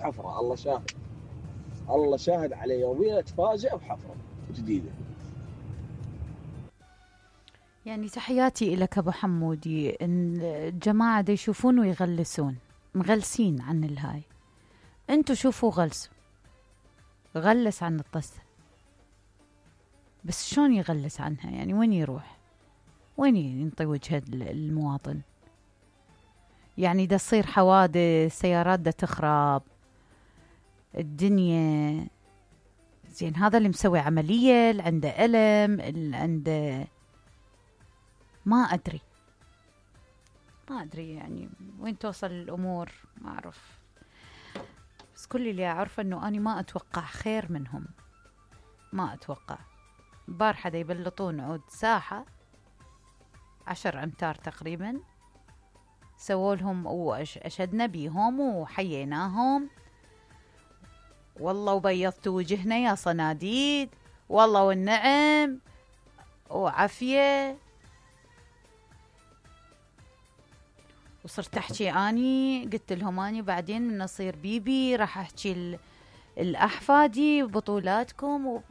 بحفرة، الله شاهد، الله شاهد على يومين اتفاجئ بحفرة جديدة. يعني تحياتي إلك أبو حمودي. إن الجماعة دا يشوفون ويغلسون مغلسين عن الهاي، انتو شوفوا غلسوا، غلس عن الطسة، بس شلون يغلس عنها؟ يعني وين يروح؟ وين ينطي وجهة المواطن؟ يعني دا تصير حوادث، سيارات دا تخرب الدنيا، زين هذا اللي مسوي عملية، اللي عنده ألم، اللي عنده ما أدري يعني وين توصل الأمور ما أعرف. بس كل اللي أعرفه أنه أنا ما أتوقع خير منهم، ما أتوقع. بارحة دا يبلطون عود ساحة 10 أمتار تقريبا، سووا لهم وأشدنا بيهم وحييناهم، والله وبيضتوا وجهنا يا صناديد، والله والنعم وعافية. وصرت أحكي أني قلت لهم أني بعدين من أصير بيبي راح أحكي الأحفادي بطولاتكم